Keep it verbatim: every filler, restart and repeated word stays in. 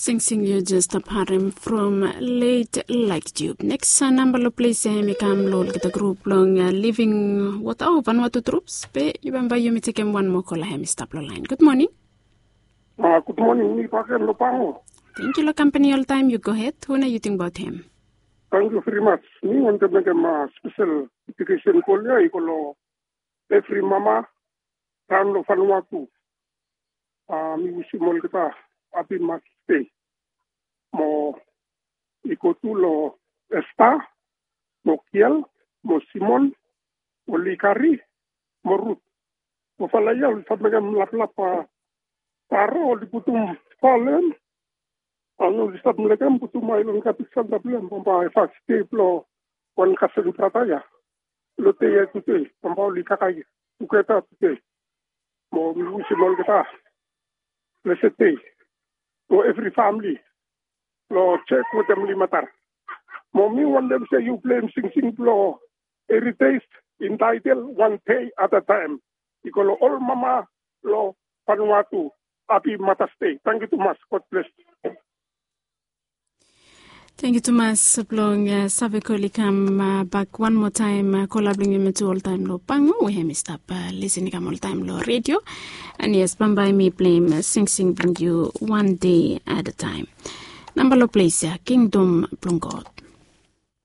Singsing yu jes stap harem from late Like Tube. Neks namba long ples ya em i kam long olgeta grup long Living Water o Vanuatu Troops. Be yu bambae yumi tekem wan moa kola hem i stap long lain. Gud moning. Gud moning, mi baken long Pango. Tengkiu long kampani oltaem, yu gohed. Hu nao yu tingbaot hem? Tengkiu veri mas. Mi wantem mekem spesel dedikesen kol ya i go long evri mama raon long Vanuatu. Mi wisim olgeta hapi Mother's Day. Mo i go tu long Esta, mo Kiel, mo Simon, mo Likari, mo Rut. Mo fala ya oli stap mekem laplap, baro oli putum falen. Oli stap mekem putum ailon kapis antap long hem, bambae fas de blong wan kasen brata ya. Long de ya tude bambae oli kakae tugeta tude. Mo mi wisim olgeta blessed day long evri famili long Jek wetem Limatar. Mo mi wantem se yu pleim singsing blong Heritage entitled One Day at a Time. I go long ol mama long Vanuatu. Hapi Mother's Day. Tangkiu tumas. God bless. Tangkiu tumas blong save kol i kam bak wan moa taem. Kola blong yumi tu oltaem long Pango we hem i stap lisin i kam oltaem long redio. And yes, bambae mi pleim singsing blong yu One Day at a Time. Namba long ples ya, Kingdom blong God.